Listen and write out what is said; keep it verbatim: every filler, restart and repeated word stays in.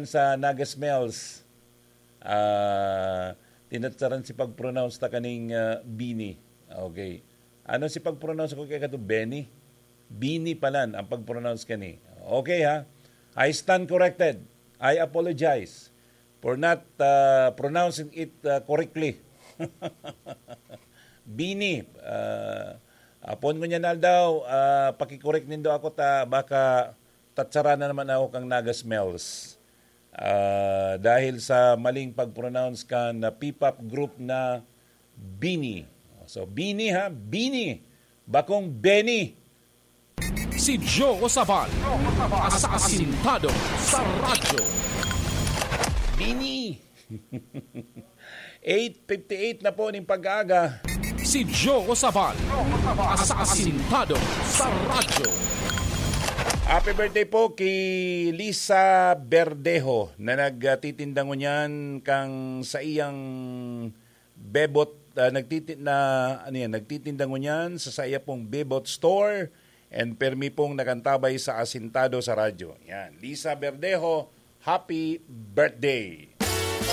sa Naga Smells. Ah, tinatsaran si pag-pronounce ta kaning, ah, Bini. Okay. Ano si pag-pronounce ko kay kato? Beni? Bini palan ang pag-pronounce kani. Okay, ha? I stand corrected. I apologize for not, ah, pronouncing it, ah, correctly. Bini, ah, apon ngunyan aldaw, ah, pakikorek nindo ako ta baka tatsara na naman ako kang Naga Smells. Ah, dahil sa maling pag-pronounce kan P-pop group na Bini. So, Bini ha, Bini. Bakong Beni. Si Joe Sabal, asasintado sa radyo. Bini. Eight fifty-eight na po ning pag-aaga. Si Joe Sabal, asasintado sa radyo. Happy birthday po kay Lisa Berdejo na nagtitinda ngunyan kang sa iyang Bebot, ah, nagtiti-, na, ano yan, nagtitinda ngunyan sa, sa iya pong Bebot Store and permi pong nakantabay sa Asintado sa Radyo. Yan, Lisa Berdejo, happy birthday!